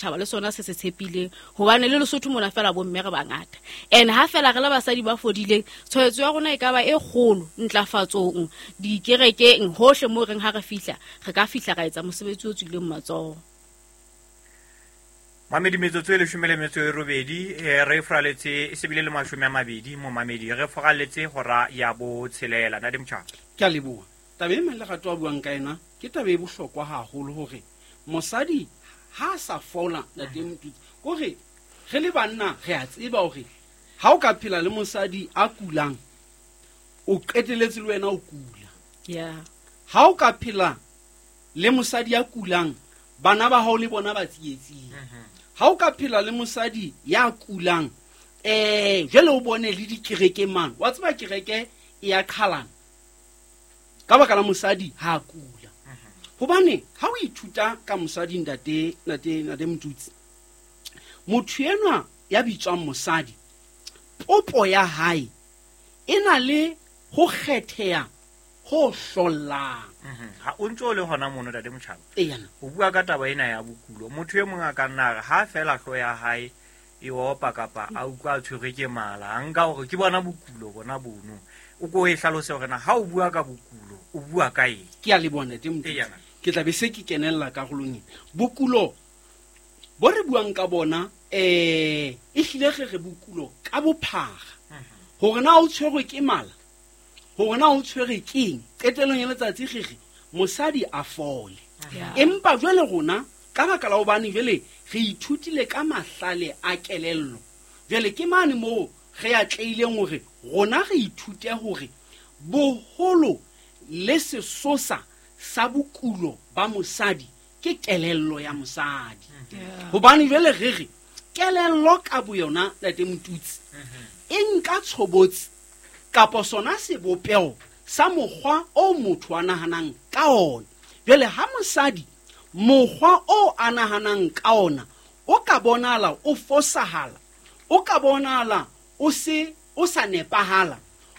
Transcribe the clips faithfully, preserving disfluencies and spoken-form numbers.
Setjhaba le sona se se tshepileng, hobane le Lesotho mona fela bomme re bangata. And ha fela re le basadi ba fodileng, tshwaetso ya rona e ka ba e kgolo ntlafatsong, dikerekeng, hohle moo reng ha re fihla, re ka fihla ra etsa mosebetsi o tswileng matsoho. Mamedi, metsotso e leshome le metso e robedi, eh, re furaletse e sebile le mashome a mabedi mo mamedi, re furaletse hora ya botshelela. Ntate Motjhaba. Ke a leboha. Taba e Lerato a buang ka yona ke taba e bohlokwa haholo, hore mosadi ha a sa fola, ntate Motutsi, kore re le banna re a tseba hore ha o ka phela le mosadi a kulang, o qeteletse le wena o kula. Yeah. Ha o ka phela le mosadi a kulang, bana ba hao le bona ba tsietsing. Ha o ka phela le mosadi ya kulang, eh jwale o bone le dikereke mane, wa tseba kereke e ya qhalana ka baka la mosadi ha a kula. Hobane ha o ithuta ka mosadi, ntate, ntate, ntate Motutsi, motho enwa ya bitswang mosadi, popo ya hae e na le ho kgetheha ho hlollang. Ha o ntso le hona mono, ntate Motjhaba, Eyana. o bua ka taba ena ya bokulo. Motho e mong a ka nna re ha fela hlooho ya hae e opa kapa a utlwa a tshwerwe ke mala, a nka hore ke bona bokulo bona bono. O ko e hlalose hore na ha o bua ka bokulo o bua ka eng? Ke a leboha, ntate Motutsi. Eyana. Ke tla be se ke kenella karolong ena. Bokulo bo re buang ka bona, eh, e hlile re re bokulo ka bophara. Hore na o tshwerwe ke mala, hore na o tshwerwe ke eng, qetellong ya letsatsi re re mosadi a fole. Yeah. Empa jwale rona ka baka la hobane jwale re ithutile ka mahlale a kelello, jwale ke mane moo re atlehileng hore rona re ithute hore boholo le sesosa sa bokulo ba mosadi ke kelello ya mosadi. Yeah. Hobane jwale re re kelello ka boyona, ntate Motutsi, e nka tshobotsi kapa sona sebopeho sa mokgwa o motho a nahanang ka ona. Jwale ha mosadi mokgwa o a nahanang ka ona o ka bonahala o fosahala, o ka bonahala o se o sa nepahala,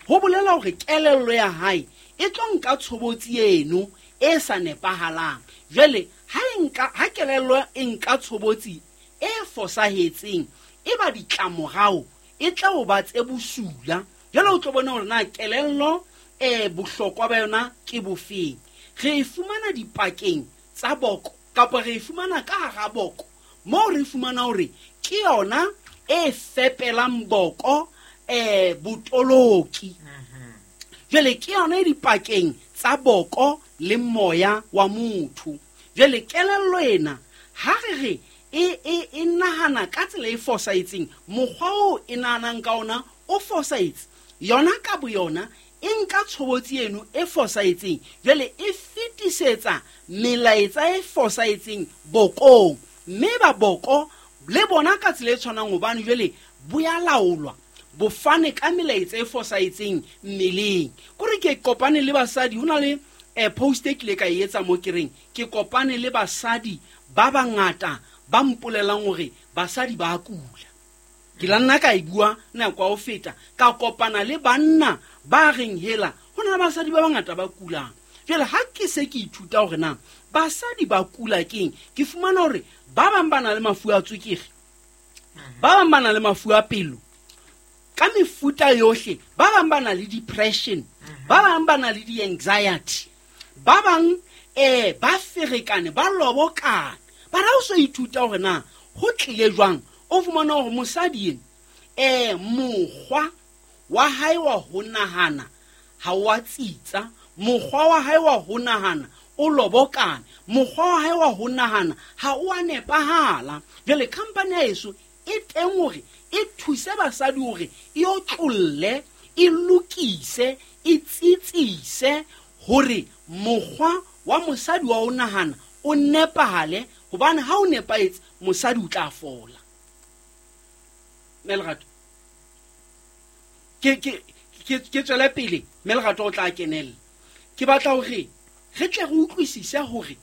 ho bolela hore kelello ya hae e tlo nka tshobotsi eno e sa nepahalang. Jwale ha e nka, ha kelello e nka tshobotsi e fosahetseng, e ba ditlamorao e tla o ba tse bosula. Jwale o tlo bona hore na kelello, eh, bohlokwa ba yona ke bofeng. Re e fumana dipakeng tsa boko kapa re e fumana ka hara boko, moo re fumana hore ke yona e fepelang boko, eh, botoloki. Jwale ke yona e dipakeng tsa boko le moya wa motho. Jwale kelello ena ha re re e, e, e nahana ka tsela e fosahetseng, mokgwa oo e nahanang ka ona o fosahetse, yona ka boyona e nka tshobotsi eno e fosahetseng, jwale e fetisetsa melaetsa e fosahetseng bokong, mme ba boko le bona ka tsela e tshwanang, hobane jwale bo ya laolwa, bo fane ka melaetsa e fosahetseng mmeleng. Kore ke kopane le basadi, ho na le, eh, post e kile ka e etsa mo ke reng ke kopane le basadi ba bangata ba mpolelang hore basadi ba kula. Ke la nna ka e bua nako ya ho feta, ka kopana le banna ba reng hela ho na le basadi ba bangata ba kulang. Jwale ha ke se ke ithuta hore na basadi ba kula keng, ke fumana hore ba bang ba na le mafu a tswekere, ba bang ba na le mafu a pelo ka mefuta yohle, ba bang ba na le depression, ba bang ba na le di-anxiety, ba bang, eh, ba ferekane, ba lobokane. Ba ra o so ithuta hore na ho tlile jwang, o fumana hore mosadi ena, eh, mokgwa wa hae wa ho nahana ha wa tsitsa, mokgwa wa hae wa ho nahana o lobokane, mokgwa wa hae wa ho nahana ha o a nepahala. Jwale company ya heso e teng hore e thuse basadi hore e otlolle, e lokise, e tsitsise hore mokgwa wa mosadi wa ho nahana o nepahale, hobane ha o nepahetse mosadi o tla fola. Mme Lerato, ke, ke, ke, ke tswele pele, mme Lerato o tla kenella. Ke batla hore re tle re utlwisise hore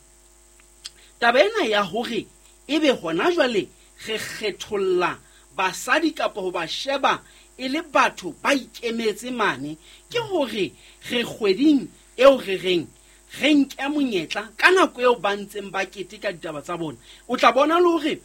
taba ena ya hore ebe hona jwale re kgetholla basadi kapa ho ba sheba e le batho ba ikemetse mane, ke hore re kgweding eo re reng re nke monyetla ka nako eo ba ntseng ba keteka ditaba tsa bona. O tla bona le hore